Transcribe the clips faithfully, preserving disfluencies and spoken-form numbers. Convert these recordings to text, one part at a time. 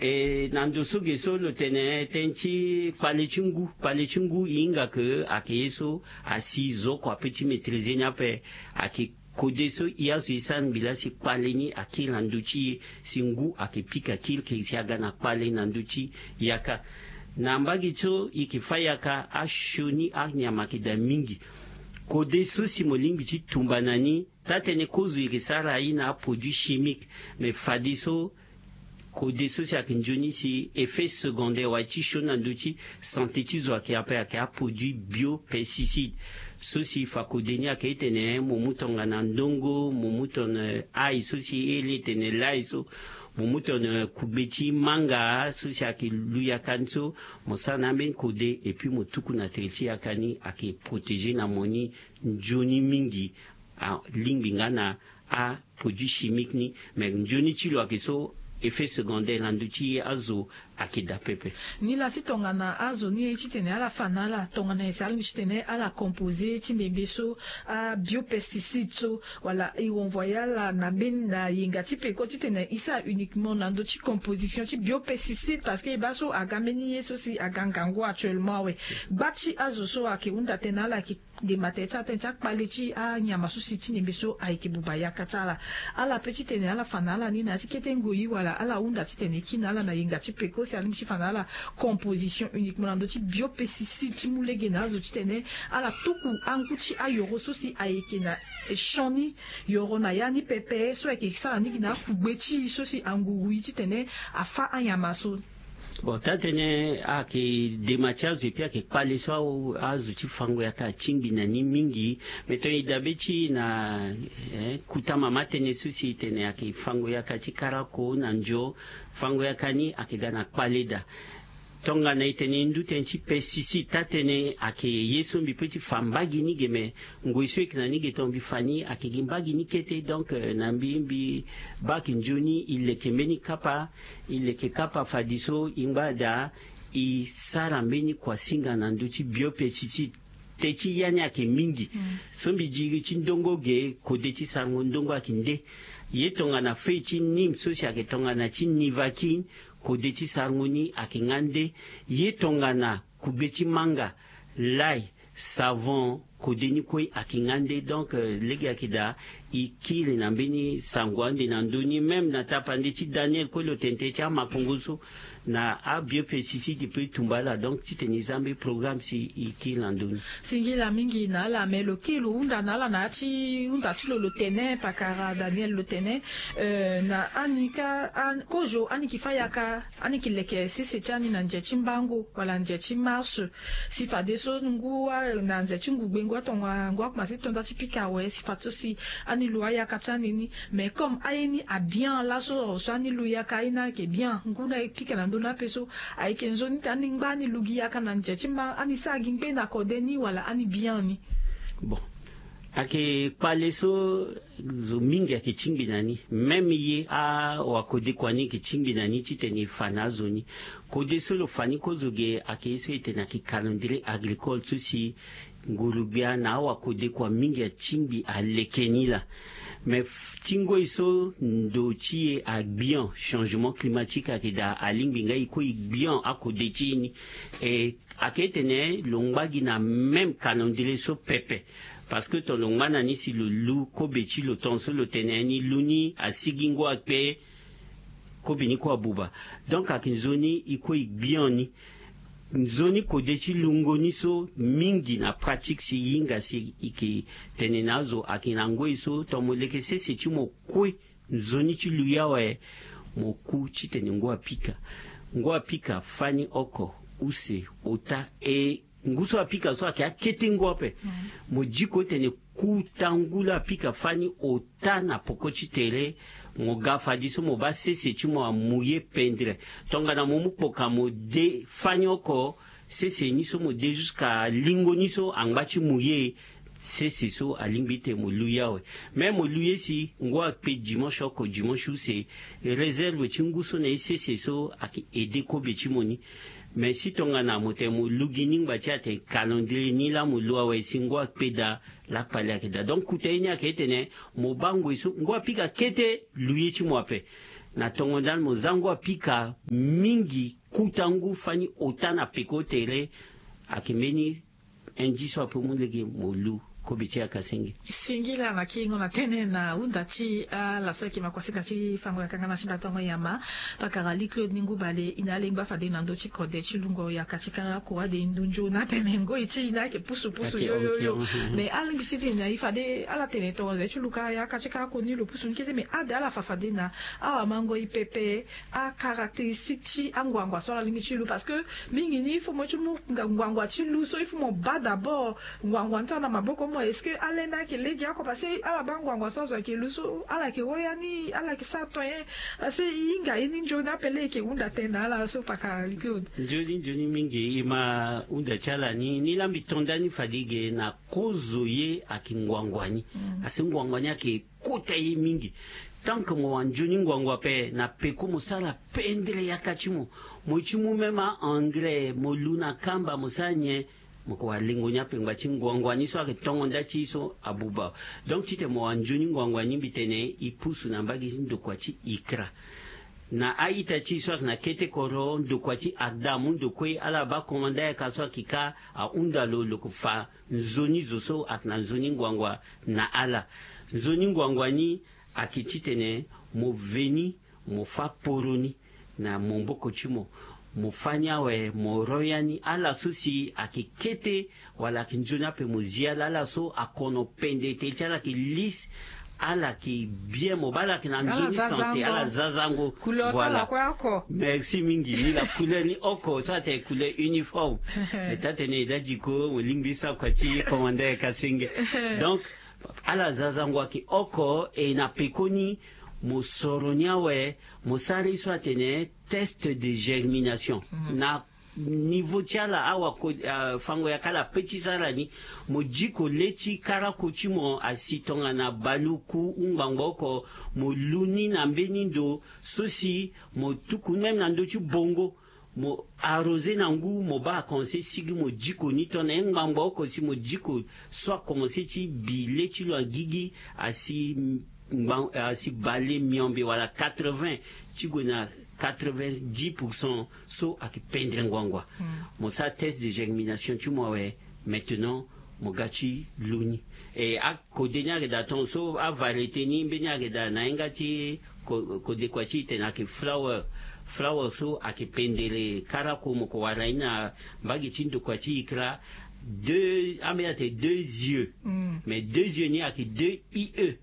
E na ndo so ge so lo tene tënë ti kpale ti ngu kpale ti ngu e hinga ke ayeke ye so asi zo oko ape ti maîtriser ni ape. Ayeke kode so e azo e sara ngbi laa si kpale ni akiri na ndö ti e si ngu ayeke pika kiri ke si aga na kpale na ndö ti yaka. Na mbage so e yeke fâ yaka asioni anyama ayeke daa mingi. Kode so si mo lingbi ti tumba na ni taa-tënë kozo e yeke sara aye na aproduit chimique. Me fadeso kode so si ayeke nzoni si effet secondaire wala ti sioni na ndö ti sante ti zo ayeke ape ayeke aproduit biopesticide. So si fa kode ni ayeke e tene mo mu tongana ndongo mo mu tongana ai so si e iri e tene lai so mo mu tongana kugbe ti manga so si ayeke lu yaka ni so mo sara na ambeni kode epui mo tuku na tere ti yaka ni ayeke protéger na mo ni nzoni mingi. Alingbi nga na aproduit chimique ni. Me nzoni ti lo ayeke so effet secondaire na ndö ti azo ayeke daa pepe. Ni laa si tongana azo ni ye titene ala fa na ala tongana ese ala ni titene ala composer ti ndembe so abiopesticide so wala e renvoyer ala na mbeni na yenga ti peko titene e sara uniquement na ndö ti composition ti biopesticide parce que e baa so aga mbeni ye so si aga ngangu actuellement awe. Gba ti azo so ayeke hunda tënë na ala ayeke ndema tere ti ala tënë ti akpale ti anyama so si ti ndembe so ayeke buba yaka ti ala. Ala pe titene ala fa na ala ni na ya ti kete ngoi wala ala hunda titene e kiri na ala na yenga ti peko si alingbi ti fa na ala composition uniquement na ndö ti biopesticide ti mu lege na azo titene ala tuku angu ti ayoro so si ayeke na champ ni yoro na ya ni pepe so ayeke sara ni gi na akugbe ti e so si anguru e titene afâ anyama so. Bon taa-tënë ayeke dema ti azo epui ayeke kpale so azo ti fango yaka atingbi na ni mingi. Me tongana e dabe ti e na eh, kota mama tënë so si e tene ayeke fango yaka ti karako na ndio fango yaka ni ayeke ga na kpale daa. Tongana e tene e ndu tënë ti pesticide taa-tënë ayeke ye so mbi pe ti fa mbagi ni ge me ngoi so e yeke na ni ge tongana mbi fa ni ayeke gi mbagi ni kete donc na mbi mbi baa ayeke nzoni e leke mbeni kapa e leke kapa fadeso e ngba daa e sara mbeni kuasinga na ndö ti biopesticide. Te ti ya ni ayeke mingi so mbi diri ti ndongo ge kode ti sarango ndongo ayeke nde. Ye tongana feuille ti nime so si ayeke tongana ti nivakine kode ti sarango ni ayeke nga nde. Ye tongana kugbe ti manga lai savon kode ni kue ayeke nga nde donc lege ayeke daa. E kiri na mbeni sango ande na ndö ni même na tapande ti daniel kue lo tene tënë ti amakongo so na abiopesticide e pe e tumba ala donc titene e za mbeni programme si e kiri na ndö ni. Singila mingi na ala me lo kiri lo hunda na ala na ya ti hunda ti lo lo tene pakara daniel lo tene na ani ka kozo ani ki fâ yaka ani ki leke sese ti ani na nze ti mbango wala nze ti marche. Si fadeso ngu na nze ti ngugbe ngu atonga ngu akomanse ti tonda ti pika awe si fadeso si ani lu ayaka ti ani ni. Mais comme aye ni abian laso so ani lu yaka aye ni ayeke bian ngu na e pika na ndö ni ape so ayeke nzoni ti ani ngba ani lu gi yaka na nze ti mba ani sara gi ngbe na kode ni wala ani bian ni. Bon ayeke kpale so zo mingi ayeke tingbi na ni même ye awakode kua ni yeke tingbi na ni titene e fa na azo ni. Kode so lo fa ni kozo ge ayeke ye so e tene ayeke calendrier agricole so si nguru-gbia na awakode kua mingi atingbi aleke ni laa. Mais ti ngoi so ndo ti e agbian changement climatique ayeke daa alingbi nga e kue e gbian akode ti e ni. E ayeke e tene lo ngba gi na même calendrier so pepe. Parce que ton lo ngba na ni si lo lu kobe ti lo ton so lo tene ni lu ni asigi ngu akpe kobe ni kue abuba. Donc ayeke nzoni e kue e gbian ni. Nzoni kode ti lungo ni so mingi na pratique si e hinga si e yeke tene na azo ayeke na ngoi so ton mo leke sese ti mo kue nzoni ti lui awe. Mo ku titene ngu apika ngu apika fani oko use ota e ngu so apika so ayeke akete ngu ape. Mo diko tene ku ta ngu laa apika fani ota na poko ti tere. Mo ga fadeso mo baa sese ti mo amouye pendre. Tongana mo mu kpoka mo de fani oko sese ni so mo de jusqu'à lingo ni so angba ti mouye. Sese so alingbi ti tene mo lui awe. Même mo lui ye si ngu akpe dimanche oko dimanche use réserve ti ngu so na ye sese so ayeke aide kobe ti mo ni. Mais si tongana mo tene mo lu gi ni ngba ti atene calendrier ni laa mo lu awe si ngu akpe daa. Lakpali ayeke daa donc kota ye ni ayeke e tene mo baa ngoi so ngu apika kete lu ye ti mo ape. Na tongo ndali mo za ngu apika mingi, kuta ngu fani ota na peko tere. Ayeke mbeni un dix so ape mu lege mo lu kobe ti yaka senge. Singila na kingo na tene na hunda ti ala so ayeke makuasinga ti fango yaka nga na ti batango nyama. Pakara li Claude ni ngu bale i na alingba fade na ndö ti kode ti lungo yaka ti karako ade ndu nzoni atene ngoi ti i na ayeke pusu pusu yoyoyo. Mais alingbi si ti na i fade ala tene tongo ze ti luka yaka ti karako ni lo pusu ni kete mais ade ala fa fade na awamango i pepe. Acaractéristique ti anguangua so ala lingbi ti lu parce que mingi ni il faut mo ti mu nganguangua ti lu so il faut mo baa d'abord nganguangua ni so ana maboko mo est-ce que ala enda ayeke lege oko parce que ala baa nganguangua so azo ayeke lu so ala yeke woya ni ala yeke sara toyen. Parce que i hinga ye ni nzoni ape le yeke hunda tene na ala so pakara li Claude. Nzoni nzoni mingi i ma hunda ti ala ni ni lambi tonda ni fade ge na kozo ye ayeke nganguangua ni. Asi nganguangua ni ayeke kota ye mingi. Tant que mo wara nzoni nganguangua ape na peko mo sara pendere yaka ti mo. Mo ye ti mu même a-engrais mo lu na kamba mo sara nyen? Mo ko wara lengo ni ape ngba ti nganguangua ni so ayeke tongo nda ti so abuba. Donc titene mo wara nzoni nganguangua ni mbi tene i pusu na mbage ti ndokua ti ikra. Na a-ita ti so ayeke na kete kodro ndokua ti agda amu ndokue ala baa komanda yaka so ayeke ka ahunda lo lo ko fa nzoni zo so ayeke na nzoni nganguangua na ala. Nzoni nganguangua ni ayeke titene mo veni mo fâ poro ni na maboko ti mo. Mo fâ ni awe mo ro ya ni ala so si ayeke kete wala ayeke nzoni ape mo zi ala ala so akono pende tere ti ala ayeke lisse. Ala yeke bien mo baa ala yeke na nzoni santé ala zazango. Voilà. Merci mingi ni la couleur ni oko so atene couleur uniforme. Eta tene eda diko mo lingbi sa kua ti komanda ya kasenge. Donc ala zazango ayeke oko e na pekoni mo soro ni awe. Mo sara ye so atene test de germination na niveau ti ala awa fango yaka ala pe ti sara ni. Mo diko le ti karako ti mo asi tongana baluku ngbangba oko. Mo lu ni na mbeni ndo so si mo tuku même na ndö ti bongo. Mo arrosé na ngu mo baa akomense sigi mo diko ni tongana ye ngbangba oko si mo diko so akomense ti bi le ti lo agigi asi bale miombe wala quatre-vingts ti gue na quatre-vingt-dix pour cent so ayeke pendre ngbangba. Mo sara test de germination ti mo awe. Maintenant mo ga ti lu ni. E akode ni ayeke daa tongo so avariété ni mbeni ayeke daa na hinga ti kodekua ti e tene ayeke flower. Flower so ayeke pendere karako mo ko wara ye ni na mbage ti ndokua ti ikra. Deux ambeni atene deux yeux. Mais deux yeux ni ayeke deux I E.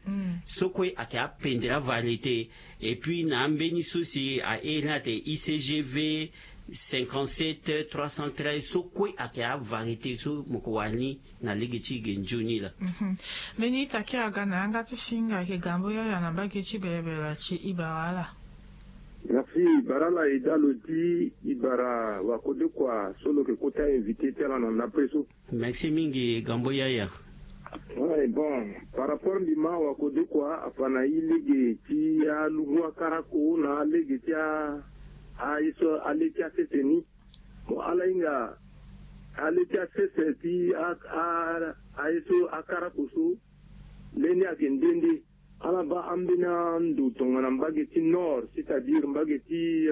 So kue ayeke apendere avariété. Et puis na ambeni so si ahere ni atene I C G V cinquante-sept trois cent treize so kue ayeke avariété so mo ko wara ni na lege ti e ge nzoni laa. Mbeni ita kiri aga na yanga ti singa ayeke gambo yaya na mbage ti berebere ti ibara ala. Merci bara ala eda lo di ibara wakodekua so lo yeke kota invité ti ala na ndapre so. Merci mingi gambo yaya. Ouais, bon, par rapport mbi ma wakodekua afa na i lege ti alungu akarako na alege ti a aye so ale ti asese ni. Mo ala hinga ale ti asese ti a a aye so akarako so. Leni ayeke nde nde ala baa ambeni ando tongana mbage ti nord c'est-à-dire mbage ti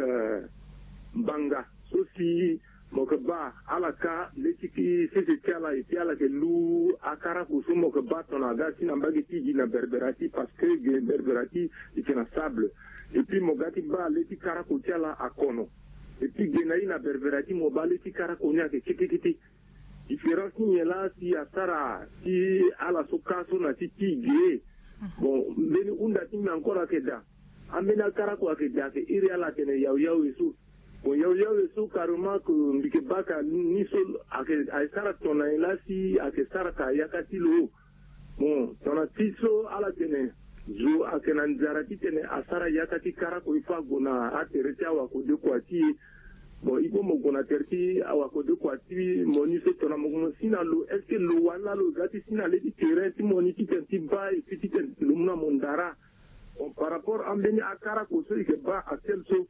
mbanga so si mo yeke baa ala ka le ti sese ti ala et puis ala yeke lu akarako so mo yeke baa tongana aga si na mbage ti gi na berbera ti parce que gi na berbera ti e yeke na sable. Et puis mo ga ti baa le ti karako ti ala akono. Et puis gi na i na berbera ti mo baa le ti karako ni ayeke kete kete. Différence ti nyen laa si asara ti ala so ka so na ti ti ge. Bon mbeni hunda ti mbi encore ayeke daa. Ambeni akarako ayeke daa ayeke iri ala atene yaoyawe so. Bon yaoyawe so carrément ke mbi yeke baa ka ni so ayeke ayeke sara tongana nyen laa si ayeke sara ka yaka ti lo. Bon tongana ti so ala tene zo ayeke na nzara titene asara yaka ti karako il faut ague na atere ti awakodekua ti e. Bon il faut mo gue na tere ti awakodekua ti mo ni so tongana mo mo si na lo est-ce que lo wani laa lo ga ti si na le ti terrain ti mo ni titene ti baa et puis titene lo mu na mo ndara. Bon par rapport ambeni akarako so e yeke baa actuel so.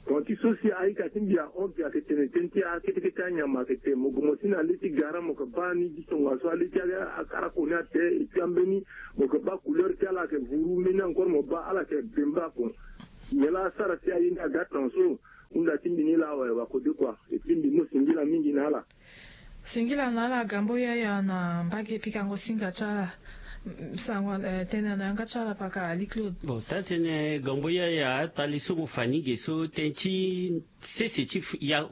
Bon ti so si aita ti mbi ahon mbi ayeke tene tënë ti akete kete anyama ayeke tene mo gue mo si na le ti gara mo yeke baa ni ti tongaso ale ti akarako ni ate. Et puis ambeni mo yeke baa couleur ti ala ayeke vuru mbeni encore mo baa ala yeke bembe ako. Nyen laa asara si aye ni aga tongaso? Hunda ti mbi ni laa awe wakode kua. Epui mbi mu singila mingi na ala. Singila na ala Gambo Yaya na mbage pikango singa ti ala. Sango tene na yanga ti ala paka Ali Claude. Bon, taa-tënë Gambo Yaya, kpale so mo fa ni ge so tënë ti sese ti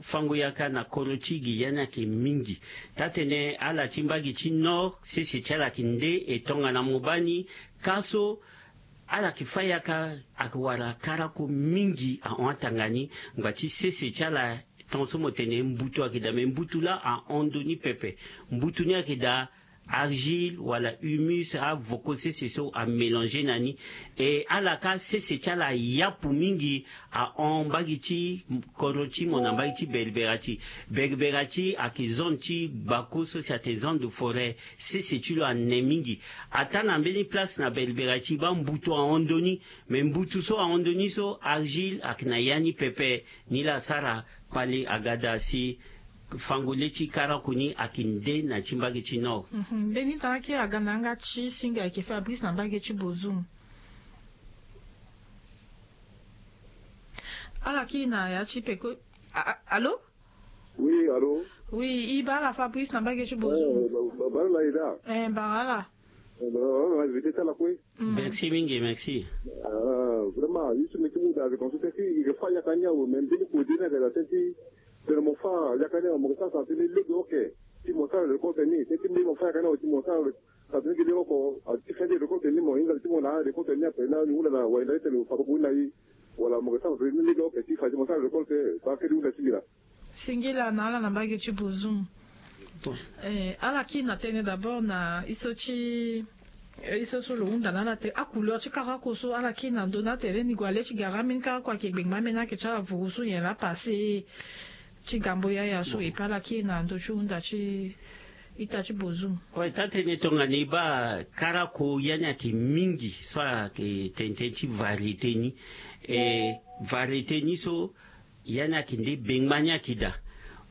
fango yaka na kodro ti Guyane ayeke mingi. Taa-tënë ala ti mbage ti Nord, sese ti ala ayeke nde, e tongana mo baa ni ka so ala yeke fâ yaka ayeke wara karako mingi ahon atanga ni. Ngba ti sese ti ala, tongaso mo tene mbutu ayeke daa, me mbutu laa ahon ndoni pepe. Mbutu ni ayeke daa argile wala humus, avoko sese so amélange na ni. E ala ka sese ti ala ayapu mingi ahon mbage ti kodro ti mo na mbage ti Berbera ti. Berbera ti ayeke zone ti gbako so si atene zone de forêt. Sese ti lo ane mingi. Ataa na mbeni place na Berbera ti baa mbutu ahon ndoni. Me mbutu so ahon ndoni so argile ayeke na ya ni pepe. Ni laa asara kpale aga daa si fango le ti karako ni ayeke nde na ti mbage ti Nord. Mbeni tara kiri aga na yanga ti singa ayeke Fabrice na mbage ti Bozoum. Ala kiri na ya ti peko. Allô? Oui, allô? Oui, i baa ala Fabrice na mbage ti Bozoum. Bara ala e daa. Eh, bara ala. Invité ti ala kue. Merci mingi, merci. Vraiment ye so mbi ti mu daa, je pense que si i ke fâ yaka ni awe, mais mbeni kode ni ayeke daa tënë ti tene mo fâ yaka ni awe, mo ke sara sara tënë lege oke ti mo sara récolte ni, tënë ti mbeni mo fâ yaka ni awe ti mo sara sara tënë gi lege oko. Ti fin ti récolte ni mo hinga ti mo na récolte ni ape na ni hunda na wayenda ti tene lo fa koko ni na i, wala mo ke sara sara tënë lege oke ti fa ti mo sara récolte. Baa kiri hunda ti mbi laa. Singila na ala na mbage ti Bozoum. Eh, ala kiri na tënë d'abord na i so ti, eh, i so so lo hunda na ala tene acouleur ti karako so ala kiri na ndö ni atene ni gue ale ti gara ambeni karako ayeke gbengba ambeni ayeke ti ala vuru so nyen laa passé ti Gambo Yaya so. Epui ala kiri na ndö ti hunda ti ita ti Bozoum. Ouais, taa-tënë tongana e baa karako ya ni ayeke mingi so ayeke tene tënë ti variété ni. E variété ni so ya ni ayeke nde bengba ni ayeke daa,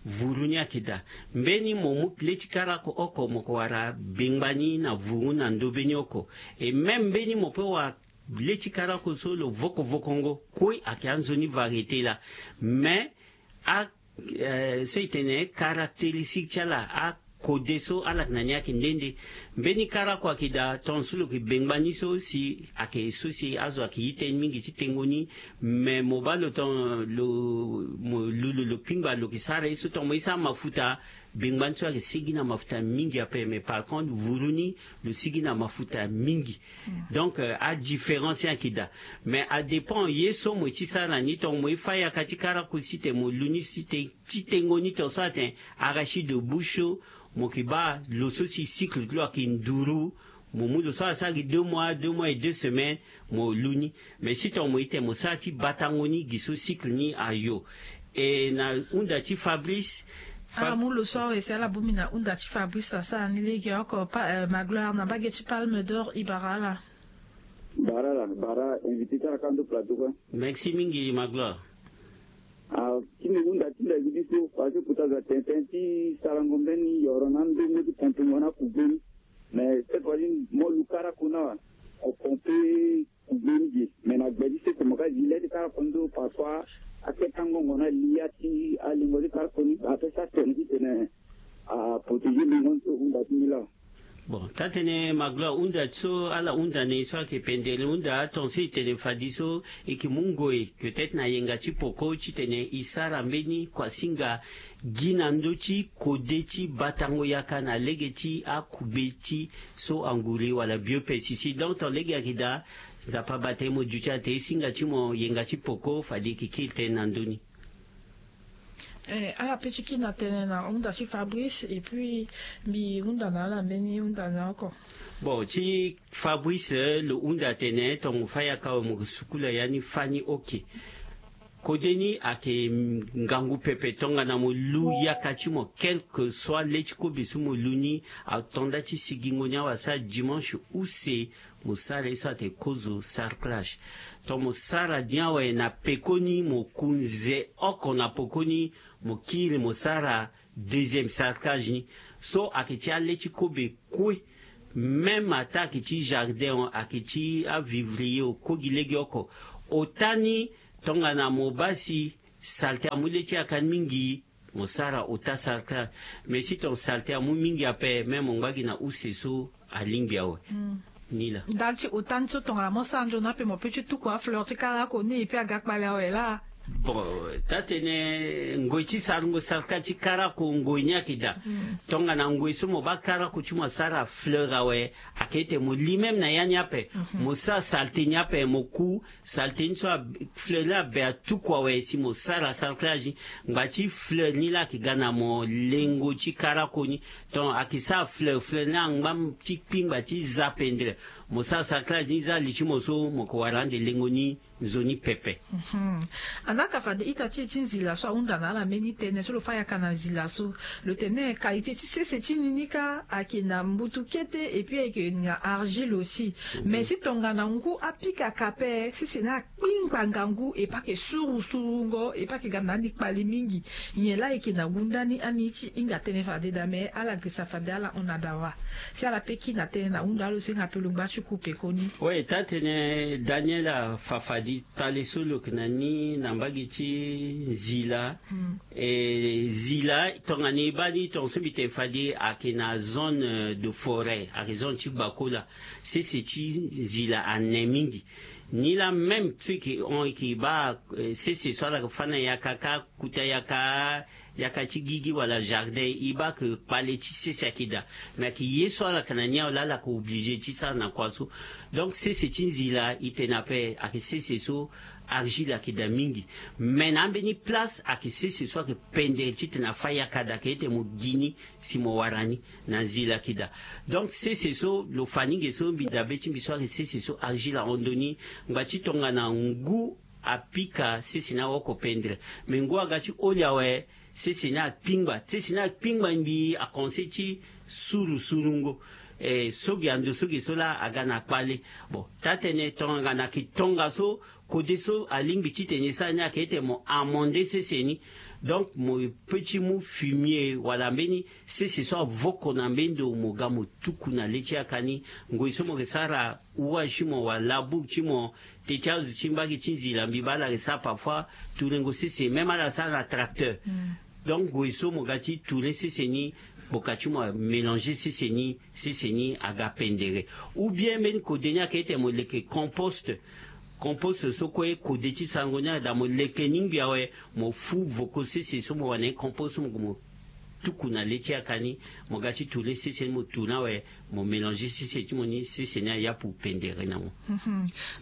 vuru ni ayeke daa. Mbeni mo mu le ti karako oko mo ke wara bengba ni na vuru na ndö be ni oko. E même mbeni mo pe wara le ti karako so lo vokovokongo kue ayeke anzoni variété laa. Mais a, eh, so e tene caractéristique ti ala, a kode so ala yeke na ni ayeke nde nde. Mbeni karako ayeke daa tongaso lo yeke bengba ni so si ayeke so si azo ayeke ye tënë mingi ti tengo ni. Me mo baa lo tongana lo mo lu lo lo kpingba lo yeke sara ye so tongana mo ye sara mafuta. Bengba ni so ayeke sigi na mafuta mingi ape, mais par contre vuru ni lo sigi na mafuta mingi. Donc, euh, adifférence ni ayeke daa. Mais adépend ye so mo ye ti sara na ni. Tongana mo ye fâ yaka ti karako si tene mo lu ni si tene ti tengo ni tongaso atene arachide de bouche so, mo yeke baa lo so si cycle ti lo ayeke nduru. Mo mu lo so asara gi deux mois, deux mois et deux semaines, mo lu ni. Mais si tongana mo ye tene mo sara ti batango ni gi so cycle ni ayo. E na hunda ti Fabrice. Ala mu lo so awe si ala bongbi na hunda ti Fabrice asara ni lege oko. Magloire na mbage ti Palme d'Or, e bara ala. Bara ala, bara invité ti ala ka ndo plateau kue. Merci mingi Magloire. Ah, ti mbi hunda ti mbi gi ni so parce que kota zo atene tënë ti sarango mbeni yoro na ndongo ti ponpongo na kugbe ni. Mais cette fois ci mo lu karako ni awe, mo pompe kugbe ni ge. Mais na gbe ti sese mo ka zi le ti karako ni so parfois akete angongo na li ya ti alingo ti karako ni, apesa tene ti tene a protéger lingo ni so. Hunda ti mbi laa. Bon, taa-tënë Magloire, hunda so ala hunda na e so ayeke pendere hunda, atongaso e tene fadeso e yeke mu ngoi peut-être na yenga ti poko titene e sara mbeni kuasinga gi na ndö ti kode ti batango yaka na lege ti akugbe ti so anguri wala biopesticide. Donc ton lege ayeke daa, Nzapa abata e mo duti atene e singa ti mo yenga ti poko fade e yeke kiri tënë na ndö ni. Eh, ala pe ti kiri na tënë na hunda ti Fabrice et puis mbi hunda na ala mbeni hunda na oko. Bon, ti Fabrice, eh, lo hunda atene tongana mo fâ yaka awe mo ke sukula ya ni fâ ni oke. Kode ni ayeke ngangu pepe tongana mo lu yaka ti mo, quel que soit le ti kobe so mo lu ni, ato nda ti sigingo ni awe asara dimanche use. Mo sara ye so atene kozo sarclage. Tongana mo sara ni awe na pekoni mo kunze oko na pokoni, mo kiri mo sara deuxième sarclage ni. So ayeke ti ale ti kobe kue. Même ata ayeke ti jardin o, ayeke ti avivrier o, kue gi lege oko. Ota ni tongana mo baa si salte amu le ti yaka ni mingi, mo sara ota sarka. Mais si ton salte amu mingi ape, même mo ngba gi na use so alingbi awe. Ni laa. Ndali ti ota ni so tongana mo sara nzoni ape, mo pe ti tuku afleur ti karako ni e pe aga kpale awe laa. Bon, taa-tene ngoi ti sarango sarka ti karako ngoi ni ayeke daa. Tongana ngoi so mo baa karako ti mo asara fleur awe, ayeke ete mo li même na ya ni ape. Mo sara salte ni ape, mo ku salte ni so, fleur ni abe atuku awe si mo sara sarclage. Ngba ti fleur ni laa ayeke ga na mo lengo ti karako ni. Donc ayeke sara fleur, fleur ni angba ti kpingba ti za pendere. Mo sara sarclage ni za li ti mo so, mo yeke wara ande lengo ni nzoni pepe. Anaka fade ita ti e ti nzila so ahunda na ala mbeni tënë so lo fa yaka na nzila so. Lo tene qualité ti sese ti ni ni kâ ayeke na mbutu kete, et puis ayeke na argile aussi. Mais si tongana ngu apika ka ape, sese ni akpingba ngangu, e pe ayeke suru surungo, e pe ayeke ga na ni kpale mingi. Nyen laa ayeke na ngu ndani ani ti hinga tënë fade daa, mais ala girisa fade ala hon na dawa. Si ala pe kiri na tënë na hunda alo so hinga pe lo ngba ti ku pekoni. Oui, taa-tene Daniel afa fade kpale so lo yeke na ni na mbage ti nzila. E, nzila tongana e baa ni, tongaso mbi tene fade ayeke na zone, euh, de forêt, ayeke zone ti gbakola. Sese ti nzila ane mingi. Ni laa même so e yeke hon, e yeke baa, eh, sese so ala yeke fâ na yaka kâ, kota yaka, yaka ti gigi wala jardin, e baa ke kpale ti sese ayeke daa. Mais ayeke ye so ala yeke na ni awe laa ala yeke obligé ti sara na kua so. Donc sese ti nzila e tene ape ayeke sese so argile ayeke daa mingi. Mais na ambeni place ayeke sese so ayeke pendere titene afâ yaka daa, ayeke ete mo gi ni si mo wara ni na nzila ayeke daa. Donc sese so lo fa ni ge so mbi dabe ti mbi so ayeke sese so argile ahon ndoni. Ngba ti tongana ngu apika, sese ni awoko pendere. Mais ngu aga ti oli awe, sese ni akpingba, sese ni akpingba mbi akonse ti suru surungo. Eh, so ge ando so ge so laa aga na kpale. Bon, taa-tene tongana ayeke tongaso, kode so alingbi titene e sara ni ayeke ete mo amender sese ni. Donc mo pe ti mu fumier wala mbeni sese so avoko na mbeni ndo, mo ga mo tuku na le ti yaka ni. Ngoi so mo yeke sara ouage ti mo wala labour ti mo, te ti azo ti mbage ti nzila mbi baa ala yeke sara parfois tourengo sese, même ala sara na tracteur. Donc ngoi so mo ga ti touren sese ni, gboka ti mo amélanger sese ni, sese ni aga pendere. Ou bien mbeni kode ni ayeke ete mo leke compost. Compost so kue kode ti sarango ni ayeke daa, mo leke ni ngbi awe, mo fu voko sese so mo wara na ye compost so mo gue mo tuku na le ti yaka ni, mo ga ti touren sese ni, mo touren awe, mo mélanger sese ti mo ni, sese ni ayapu pendere na mo.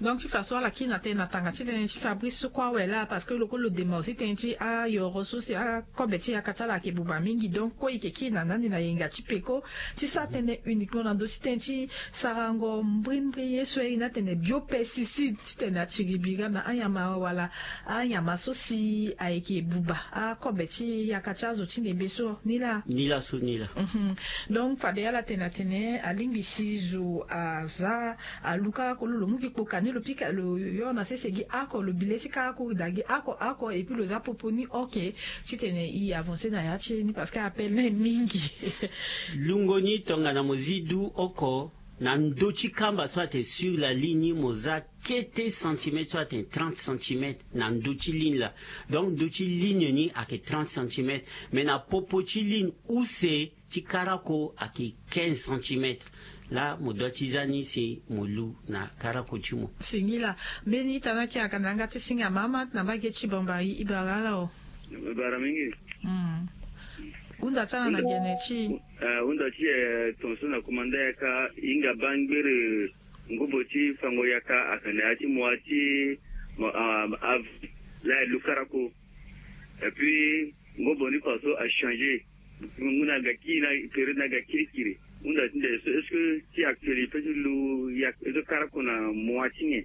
Donc ti fa so ala kiri na tënë na tanga ti tënë ti Fabrice so kue awe laa, parce que lo kue lo dema aussi tënë ti ayoro so si akobe ti yaka ti ala ayeke buba mingi. Donc kue e yeke kiri na ndani na yenga ti peko ti sara tënë uniquement na ndö ti tënë ti sarango mbrimbri ye so e iri ni atene biopesticide titene atiri bira na anyama wala anyama so si ayeke buba akobe ti yaka ti azo ti ndembe so. Ni laa. Ni laa so, ni laa. Donc fade ala tene atene alingbi si zo aza alu karako lo, lo mu gi kpoka ni lo pika lo yo na sese gi oko, lo bi le ti karako daa gi oko oko, et puis lo za popo ni oke titene e avancer na ya ti e ni parce que appel ni mingi. Lungo ni tongana mo zi du oko na ndö ti kamba so atene sur la ligne ni mo za kete centimètre so atene trente centimètre na ndö ti ligne laa. Donc ndö ti ligne ni ayeke trente centimètre, mais na popo ti ligne use ti karako ayeke quinze centimètre. Laa mo doit ti za ni si mo lu na karako ti mo. Singila. Mbeni ita ni ayeke aga na yanga ti singa mama na mbage ti Bambari, e bara ala o. E bara mingi. Hunda ti ala na gene ti e. Eh, hunda ti e, eh, tongaso na komanda yaka e hinga baa ngbere ngobo ti fango yaka ayeke na ya ti mois ti, ah, avril laa e lu karako. Et puis ngobo ni faso achanger. Ngu na ga kiri na période na ga kirikiri. Hunda ti nde so, est-ce que ti actuel e peut ti lu yaka, e so karako na mois ti nyen?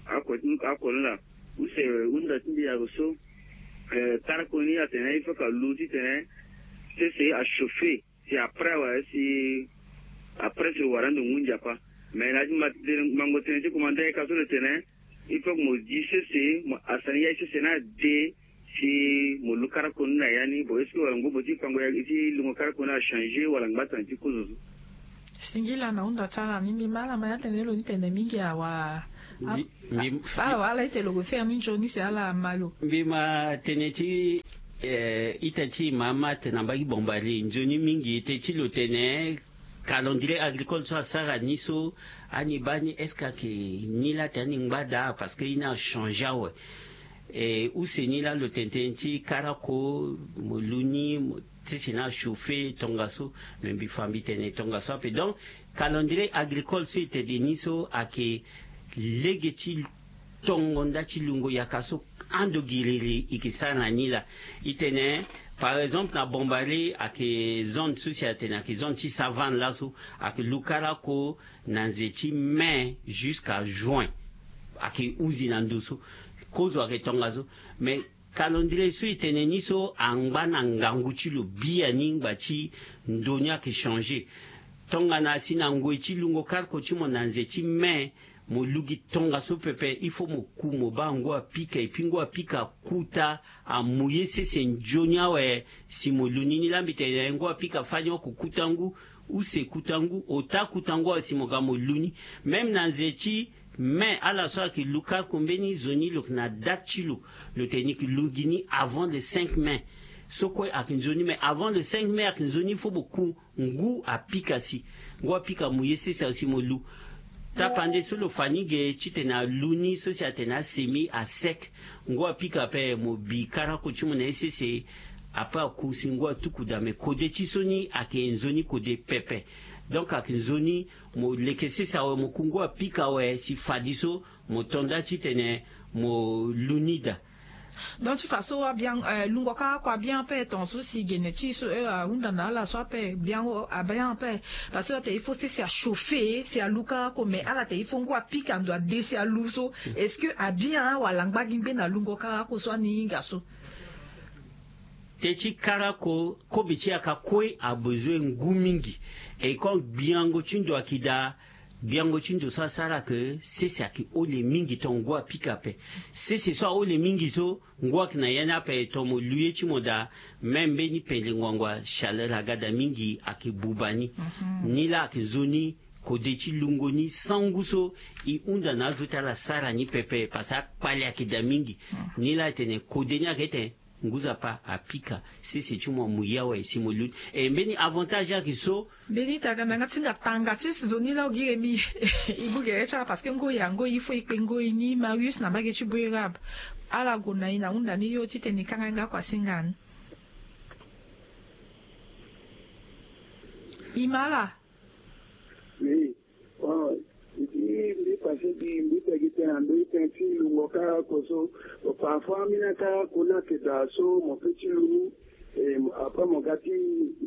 Oko, oko ni laa. Use, hunda ti nde azo so, eh, karako ni atene il faut que alu titene sese achauffer. Si après awe, si après si lo wara ndo ngu nzapa. Mais na ya ti ma tene, mango tënë ti komanda yaka so lo tene il faut que mo gi sese, mo asani ya ti sese ni ade si mo lu karako ni na ya ni. Bon, est-ce que wala ngobo ti fango ya ti lungo karako ni achanger wala ngbatana ti kozo so? Singila na hunda ti ala ni, mbi ma ala ma ya tene lo ni pene mingi awa. Mbi, mbi, ala wala ite lo go faire ni nzoni si ala ma lo. Mbi ma tene ti, eh, ita ti mama atene na mbage ti Bombari nzoni mingi, ite ti lo tene calendrier agricole so asara ni so, ani baa ni est-ce que ayeke ni laa tene ani ngba daa? Parce que ye ni achangé awe. E use ni laa lo tene tënë ti karako, mo lu ni, mo, ti si ni achauffé tongaso. Me mbi fa mbi tene tongaso ape. Donc calendrier agricole so e tene ni so ayeke lege ti tongo nda ti lungo yaka so ando giriri e yeke sara na ni laa. E tene, par exemple, na Bombari ayeke zone so si atene ayeke zone ti savane laso, ayeke lu karako na nze ti mai jusqu'à juin. Ayeke hunzi na ndo so. Kozo ayeke tongaso. Mais calendrier so e tene ni so angba na ngangu ti lo biani ngba ti ndo ni ayeke changé. Tongana asi na ngoi ti lungo karako ti mo na nze ti mai, mo lu gi tongaso pepe, il faut mo ku mo baa ngu apika, et puis ngu apika akuta, amu ye sese nzoni awe si mo lu ni. Ni laa mbi tene ngu apika fani oko kuta ngu, use kuta ngu, ota kuta ngu awe si mo ga mo lu ni. Même na nze ti mai, ala so ayeke lu karako mbeni zo ni lo yeke na date ti lo, lo tene ni yeke lu gi ni avant le cinq mai. So kue ayeke nzoni, mais avant le cinq mai ayeke nzoni, il faut mo ku ngu apika si. Ngu apika amu ye sese awe si mo lu. Tapande so lo fa ni ge titene alu ni so si atene asemi asec. Ngu apika ape mo bi karako ti mo na ye sese. Ape aku si ngu atuku daa, me kode ti so ni ayeke nzoni kode pepe. Donc ayeke nzoni mo leke sese awe, mo ku ngu apika awe si fadeso mo to nda titene mo lu ni daa. Donc ti fa so abian, eh, lungo karako abian ape tongaso si gene ti so, eh, ahunda na ala so ape biango abian ape. Parce que atene il faut sese achauffé si alu karako, mais ala tene il faut ngu apika ndo ade si alu so. Est-ce que abian wala angba gi ngbe na lungo karako so ani hinga so? Tënë ti karako, kobe ti yaka kue abezoin ngu mingi. E kon gbiango ti ndo ayeke daa. Gbiango ti ndo so asara ke sese ayeke ole mingi, tonga ngu apika ape. Sese so ahole mingi so, ngu ayeke na ya ni ape, tonga mo lu ye ti mo daa. Même mbeni pendere ngbangba, chaleur aga daa mingi, ayeke buba ni. Ni laa ayeke nzoni kode ti lungo ni sangu so e hunda na azo ti ala sara ni pepe, parce que akpale ayeke daa mingi. Ni laa e tene kode ni ayeke tene ngu nzapa apika sese ti mo amu ye awe si mo lu ni. E mbeni avantage ayeke so. Mbeni tanga na yanga ti hinga tanga ti zo ni laa ogiri mi. E bu gere ti ala parce que ngoi ya ngoi il faut e kpe ngoi ni. Marius na mbage ti Boerab, ala gue na e na hunda ni yo titene e kanga yanga kua singa ni. E ma ala. Oui. Bon, e ti mbi pase gi mbi pe gi tënë na ndö ti tënë ti lungo karako so. Parfois ambeni akarako ni ayeke daa so mo pe ti lu ni. E, après mo ga ti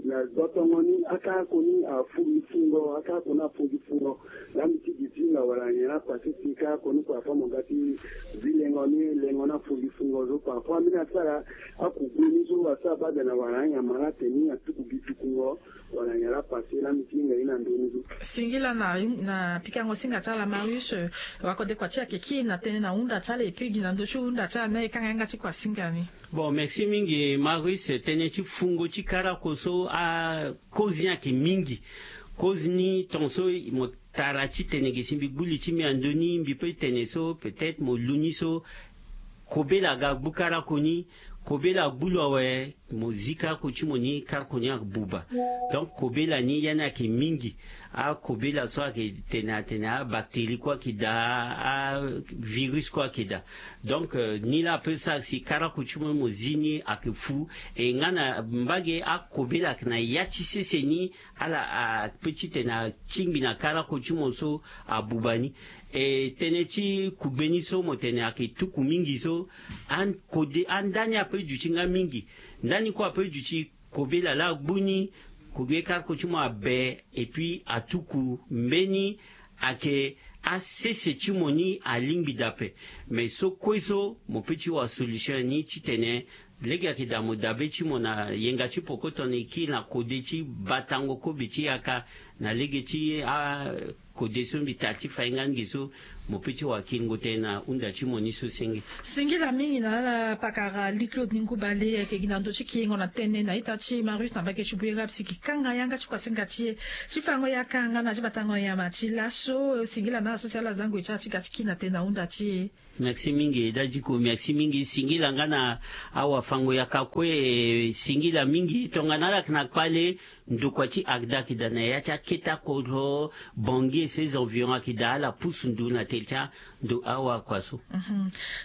na dotongo ni, akarako ni afu gi fungo, akarako ni afu gi fungo. Laa mbi ti gi ti hinga wala nyen laa pase ti karako ni, parfois mo ga ti zi lengo ni, lengo ni afu gi fungo so. Parfois ambeni asara akugbe ni so asara baa daa na wala anyama laa atene ni atuku gi tukungo. Wala nyen laa pase laa mbi ti hinga ye na ndö ni so. Singila na, na pikango singa ti ala Marius, eh, wakode kua ti ayeke kiri na tënë na hunda ti ala, e pe gi na ndö ti hunda ti ala ni e kanga yanga ti kua singa ni. Bon, merci mingi Marius. Tënë ti fungo ti karako so, akozi ni ayeke mingi. Kozi ni tongaso mo tara titene ge si mbi gbu li ti mbi na ndö ni, mbi pe tene so peut-être mo lu ni so, kobela aga gbu karako ni. Kobela agbu lo awe, mo zi karako ti mo ni, karako ni abuba. Donc kobela ni ya ni ayeke mingi. Akobela so ayeke tene atene abactérie kue ayeke daa, avirus kue ayeke daa. Donc, euh, ni laa ape sara si karako ti mo ni mo zi ni ayeke fu. E nga na mbage akobela ayeke na ya ti sese ni, ala ape titene atingbi na karako ti mo so abuba ni. E tënë ti kugbe ni so mo tene ayeke tuku mingi so. An-, kode, andani ape duti nga mingi. Ndani kue ape duti kobela laa agbu ni, kugbe karako ti mo abe, et puis atuku mbeni ayeke asese ti mo ni alingbi daa ape. Mais so kue so mo pe ti wa solution ni titene lege ayeke daa mo dabe ti mo na yenga ti poko tongana e kiri na kode ti batango kobe ti yaka na lege ti a kode so mbi tara ti fainga ni ge so, mo pe ti wakiringo tënë na hunda ti mo ni so senge. Singila mingi na ala pakara Louis Claude Ningou Bale ayeke gi na ndö ti kiringo na tënë na ita ti Marius na mbage ti Bouérab si e kanga yanga ti kuasinga ti e ti fango yaka nga na ti batango nyama ti laso. Singila na ala so si ala za ngoi ti ala ti ga ti kiri na tënë na hunda ti e. Merci mingi dadiko, merci mingi. Singila nga na awafango-yaka kue. Singila mingi tongana ala yeke na kpale, ndokua ti Arda ayeke daa na ya ti akete kodro, Bangui et ses environs ayeke daa ala pusu ndu na tere ti ando awakua so.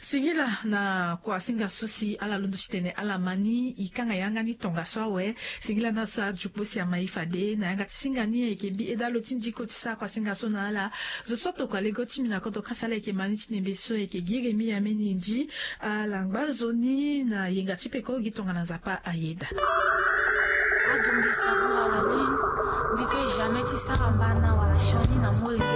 Singila na kuasinga so si ala londo ti tene ala ma ni. E kanga yanga ni tongaso awe. Singila na ala so adio kpo si ama e fade na yanga ti singa ni ayeke mbi eda lo ti ndiko ti sara kuasinga so na ala. Zo so atokua lego ti mbi na kodro kasa ala ayeke ma ni ti nembe so ayeke Giremi Ameni Ndi. Ala ngba zo ni na yenga ti peko gi tongana Nzapa ayeda. Adumbi sabura la lune. Mbi pe jamais ti sara mbana wala sioni na mole.